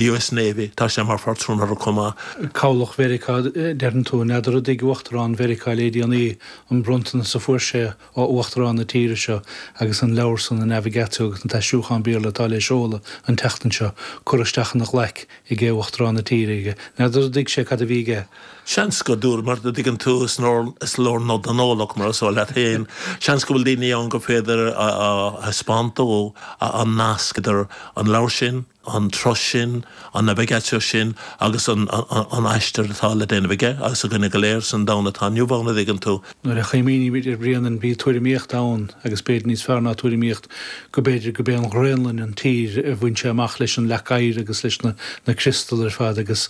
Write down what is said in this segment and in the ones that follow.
US Navy, tá sé mar phatrún orthu chomh maith. Cabhlach Mheiriceá, deireann tú. N'fheadar an dtuig Uachtarán Mheiriceá le déanaí an bronntanas a fuair sé ó Uachtarán na tíre seo agus an leabhar san, an Navigatio agus an t-aistriúchán Béarla atá le seoladh an tseachtain seo, curtha isteach ina ghlaic ag Uachtarán na tíre aige. N'fheadar an dtuig sé cad a bhí aige. Seans go dúr, mar a dtuigeann tú, is leor nod don eolach, mar is eol leat féin. Seans go bhfuil daoine ann gur féidir a thaispeáint dó an nasc idir an leabhar sin, an turas sin, an navigatio sin agus an aistear atá le déanamh aige agus againne go léir san domhan atá inniu ann, a dtuigeann tú. Nuair a chuimhnímid ar Bhréanainn bhí tuairimíocht ann, agus b'fhéidir níos fearr ná tuairimíocht, go b'fhéidir go b'é an Ghraonlainn an tír a bhain sé amach leis an leac oighir agus leis na criostail ar fad agus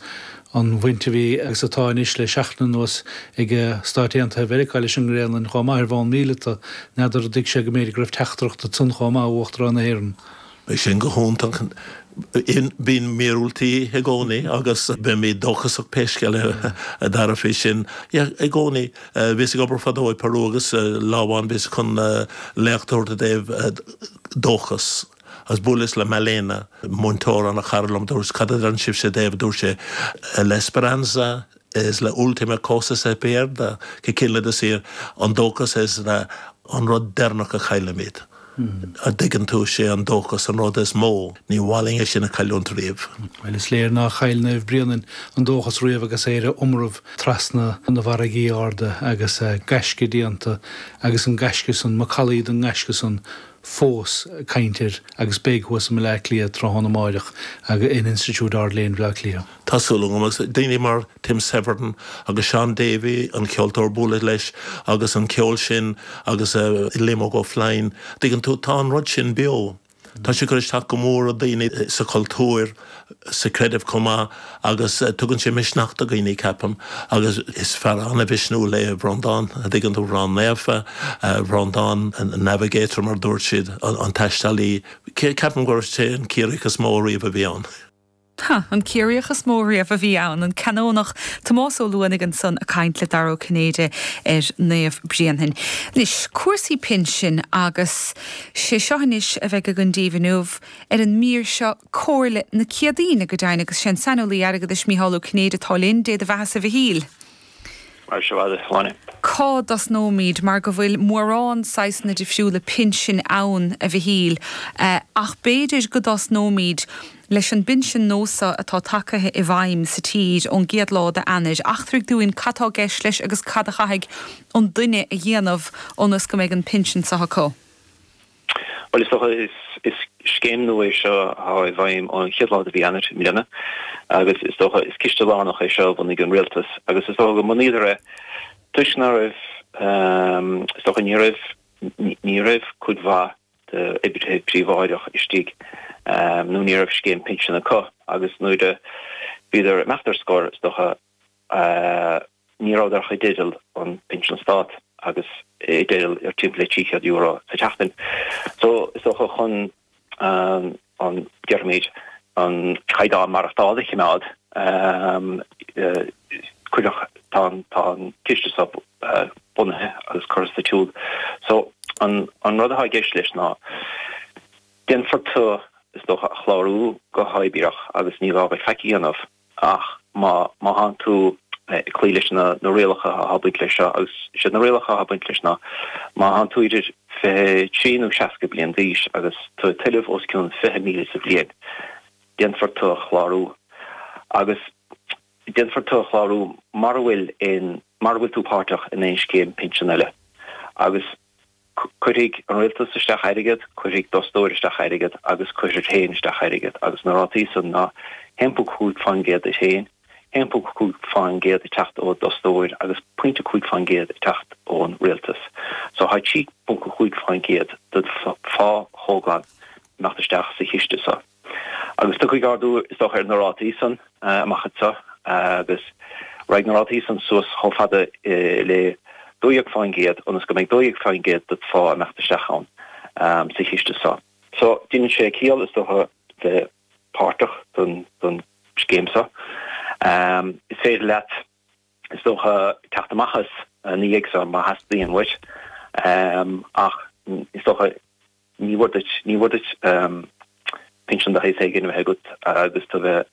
an bhaint a bhí agus atá anois le seachtain anuas ag Stáit Aontaithe Mheiriceá leis an nGraonlainn chomh maith ar bhonn míleata. N'fheadar an dtuig sé go mb'fhéidir go raibh teachtaireacht ansan chomh maith ó Uachtarán na hÉireann. Bheadh sin go hiontach. Bíonn míorúiltí i gcónaí agus beimid dóchasach pé scéal é a Dhara faoi sin. Yeah, i gcónaí. Bhíos ag obair fadó i Peru agus lá amháin bhíos chun léacht a thabhairt i dtaobh dóchas agus bhuaileas le Malena, múinteoir ana-chara liom, dúirt cad a deireann sibhse i dtaobh, dúirt sé la esperanza es la última cosa se pierde, que quiere decir an dóchas is an rud deireanach a chaillimid. An dtuigeann tú, sé an dóchas an rud is mó, ní mhaith linn é sin a chailliúint riamh. Bhuel, is léir nár chaill Naomh Bréanainn an dóchas riamh agus é ar a iomramh trasna na bhfarraigí arda agus gaisce déanta agus an gaisce san, macallaí den ngaisce san fós ag caint air agus beidh thuas i mBleá Cliath tráthnóna amáireach in Institiúid Ard-Léinn Bhleá Cliath. Tá súil agam, agus daoine mar Tim Severin agus Shaun Davey, an ceoltóir bualadh leis agus an ceol sin agus Liam Óg Ó Floinn, dtuigeann tú, tá an rud sin beo. Tá sé ag cur isteach go mór ar dhaoine sa chultúr, sa chreideamh chomh maith agus tugann sé misneach do dhaoine, ceapaim, agus is fear an-mhisniúil é Breandán, a dtuigeann tú, Breandán Naofa, Breandán an navigator mar a dúirt siad, an taistealaí. Ceapaim gur é an Ciarraíoch is mó riamh a bhí ann. Ha, an Ciarraíoch is mó riamh a bhí ann, an Canónach Tomás Ó Luanaigh ansan ag caint le Dara Ó Cinnéide ar Naomh Bréanainn. Anois, cúrsaí pinsin agus sé seo anois a bheidh againn daoibh inniu ar an mír seo, Comhairle na Céadaoine go deimhin agus sé an saineolaí airgeadais Mícheál Ó Cinnéide atá linn. Dé do bheathasa a Mhichíl. Mar seo a Shláine. Cá dtosnóimid, mar go bhfuil mórán saghsanna difriúla pinsin ann, a Mhichíl, ach b'fhéidir go dtosnóimid leis an bpinsean nua seo atá tagaithe i bhfeidhm sa tír ón gcéad lá d'Eanáir. Eachtraigh dúinn cad tá i gceist leis agus cad a chaithfidh an duine a dhéanamh ionas go mbeidh an pinsean seo acu. Bhuel, is dócha, is scéim nua é seo atá i bhfeidhm ón chéad lá de mhí Eanáir i mbliana agus is dócha, is ciste lárnach é seo a bhunaigh an rialtas agus is dócha go mbunaíodar é toisc ná raibh, is dócha, ní raibh, ní raibh cuid mhaith d'oibrithe príobháideach istigh nó ní raibh scéim pinsean acu agus nuair a bhíodar ag imeacht ar scor, is dócha, Ní rabhadar ach i dteideal an pinsean stát agus i dteideal ar timpeall le €300 sa tseachtain. So is dócha chun an, déarfaimid, an caighdeán maireachtála a chimeád, cuireadh, tá an, tá an ciste seo bunaithe agus curtha sa tsiúl. So an rud atá i gceist leis ná déanfar tú, is dócha, a chlárú go huathoibríoch agus ní gá duit faic a dhéanamh. Ach má má thánn tú ag cloí leis na na rialacha atá ag baint leis seo, agus is iad na rialacha atá ag baint leis ná, má thánn tú idir 23 nó 60 bliain d'aois agus tú ag tuilleamh os cionn 20,000 sa bhliain, déanfar tú a chlárú. Agus déanfar tú a chlárú mara bhfuil aon, mara bhfuil tú páirteach in aon scéim pinsean eile. Agus. Cuirfidh an rialtas isteach airgead, cuirfidh d'fhostóir isteach airgead agus cuirfir féin isteach airgead agus na rátaí san ná 1.5% duit féin, 1.5% ag teacht ó d'fhostóir agus pointe 5% ag teacht ón rialtas. So tá 3.5% de phá chomhghlan ag imeacht isteach sa chiste so. Agus tiocfaidh ardú, is dócha, ar na rátaí san amach anseo agus raghaidh na rátaí san suas chomh fada le 12% ionas go mbeidh 12% de do phá ag imeacht isteach ann sa chiste so. So, déanann sé ciall, is dócha, bheith páirteach don scéim so. Is féidir leat, is dócha, teacht amach as ina dhiaidh so má theastaíonn uait ach is dócha, Ní mhór duit, ní mhór duit bheith. pinsean de shaghas éigin a bheith agat agus tú a bheith.